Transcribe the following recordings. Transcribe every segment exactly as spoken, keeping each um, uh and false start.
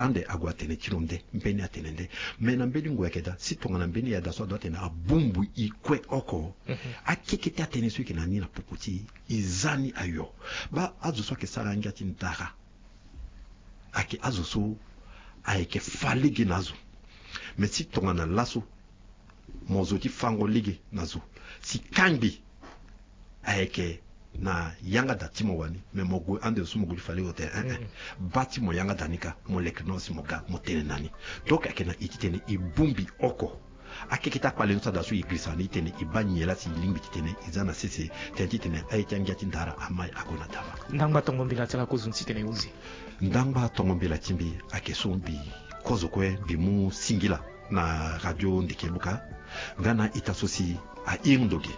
Ande ague atene ti lo nde, mbeni atene nde. Me na mbeni ngu ayeke daa, si tongana mbeni ya daa so adua atene abongbi e kue oko. Akekete atënë so e yeke na ni na popo ti e, e za ni ayo. Baa azo so ayeke sara ngia ti ndara ayeke azo so ayeke fa lege na azo. Me si tongana laso mo zo ti fango lege na zo, si kangbi ayeke na yanga daa ti mo wani, me mo gue ande so mo gue ti fa lege otene, eh, eh. Baa ti mo yanga daa ni kâ, mo leke na ni si mo ga mo tene na ni. Donc ayeke na e titene e bongbi oko. Akekete akpale ni so adaa so e girisa ni titene e baa nyen laa si e lingbi titene e za na sese, tënë titene aye ti angia ti ndara amai ague na dawa. Ndangba tongo mbela ti ala kozo ni titene e hunzi. Ndangba tongo mbela ti mbi ayeke so mbi kozo kue mbi mu singila na radio Ndeke Luka nga na ita so si ahiri ndo ge.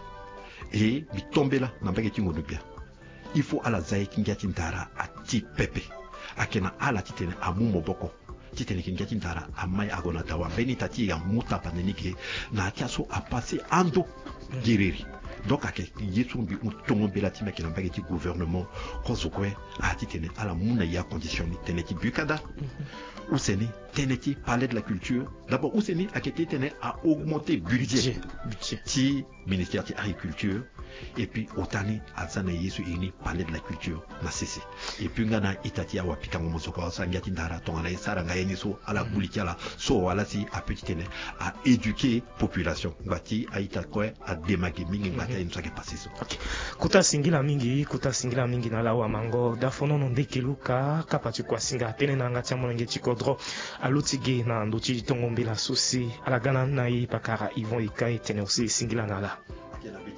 E mbi tombela na mbage ti ngondu gbia. Il faut ala za ye ti ngia ti ndara ati pepe. Ayeke na ala titene amu maboko titene yeke ngia ti ndara amai ague na dawa. Mbeni ita ti e amu tapande ni ge na ya ti aso apase ando gereri. Donc ayeke ye so mbi mu tongo mbela ti mbi ayeke na mbage ti gouvernement kozo kue, a titene ala mu na e acondition ni tënë ti bukada. Use ni tënë ti palais de la culture. D'abord use ni ayeke titene a augmenter budget ti ministère ti agriculture. Et puis ota ni aza na ye so e iri ni palais de la culture na sese. Et puis nga na ita ti awapikango mosoko aso angia ti ndara tongana e sara nga ye ni so ala gbu li ti ala so wala si ape titene a éduquer population. Ngba ti a-ita kue adema ge mingi ngba ti aye ni so ayeke pase so. Ok. Kota singila mingi, kota singila mingi na ala awamango dafonono Ndeke Luka, kapa ti kuasinga tënë na yanga ti amolenge ti kodro. Aluti ge na ndö ti tongo mbela so si ala ga na ni na e pakara Yvon Ika, e tene aussi singila na ala.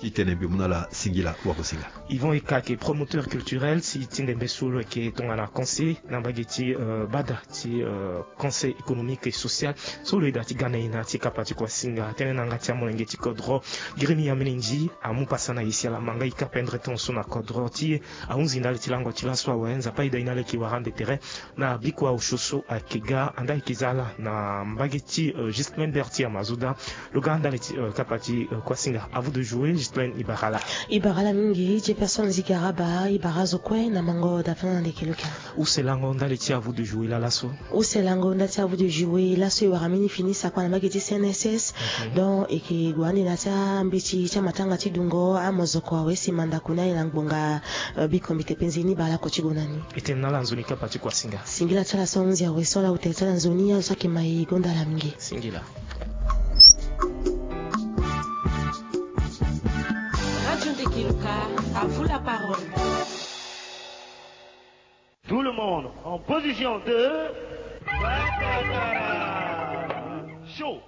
Ti tene mbi mu na ala singila, wakosinga. Yvon Ika ayeke promoteur culturel si ti ndembe so lo yeke tongana conseiller na mbage ti, euh, bada ti, euh, conseil économique et social. So lo yeda ti ga na e na ya ti kapa ti kuasinga tënë na yanga ti amolenge ti kodro. Giri ni ya mbeni ndi amu pasa na e si ala ma nga e ka pendre temps so na kodro ti e. Ahunzi ndali ti lango ti laso awe, Nzapa ayeda e na ala e yeke wara ande tere. Na bikua osio so ayeke ga, ande ayeke za ala na mbage ti, euh, Ghislain Berthier Mazoda. Lo ga ndali ti, euh, kapa ti, euh, kuasinga. À vous de jouer, Ghislain, e bara ala. E bara ala mingi, Jefferson Zigaraba, e bara azo kue na mango dafa na Ndeke Luka. Use lango ndali ti à vous de jouer laa laso. Use lango ndali ti à vous de jouer laso e wara mbeni fini sakua na mbage ti C N S S. Donc e yeke gue ande na ya ti ambeti ti amatanga ti dungo, amozoko awe si mandako ni aye na ngbonga, euh, biko mbi te penze ni bale oko ti gue na ni. E tene na ala nzoni kapa ti kuasinga. Singila ti ala so ahunzi awe so ala ute ti ala nzoni azo so ayeke ma e gonda ala mingi. Singila. Radio Ndeke Luka, à vous la parole. Tout le monde en position de show.